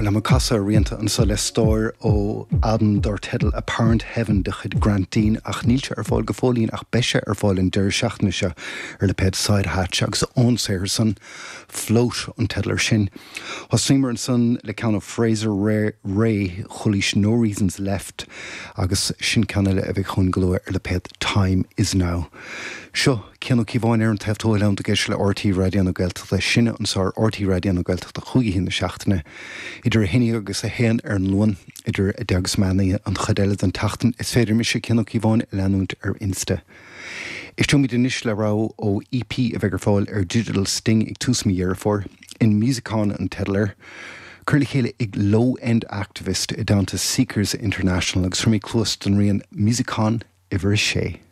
Bhuel, tá mé ag casadh ar rianta anso le stór ó albam dar teideal Apparent Heaven de chuid Grant Deane ach níl sé ar fáil go fóillín ach beidh sé ar fáil an deireadh seachtaine seo ar lipéad Side Hatch agus ón saothar san, Float an teideal air sin. Thosnaíomar ansan le ceann ó Fraser Rae, Chualaís No Reasons Left agus sin ceann eile a bheidh chugainn go luath ar lipéad Time Is Now. Seo Cian Ó Cíobháin ar an taobh thuaidh ag éisteacht le RTÉ Raidió na Gaeltachta. Sinne anso ar RTÉ Raidió na Gaeltachta chúig oíche na seachtaine, idir 11 agus 1 ar an Luan, idir 10 agus meán oíche an chuid eile den tseachtain. Is féidir mise, Cian Ó Cíobháin, a leanúint ar Insta. Éisteoimid anois le rogha ó EP a bheidh ar fáil ar Digital Sting ag tús mí Dheireadh Fómhair. In Musicon an teideal air. Curtha le chéile ag Low End Activist i dteannta Seekers International agus tabharfaidh mé cluas don rian Musicon uimhir a sé.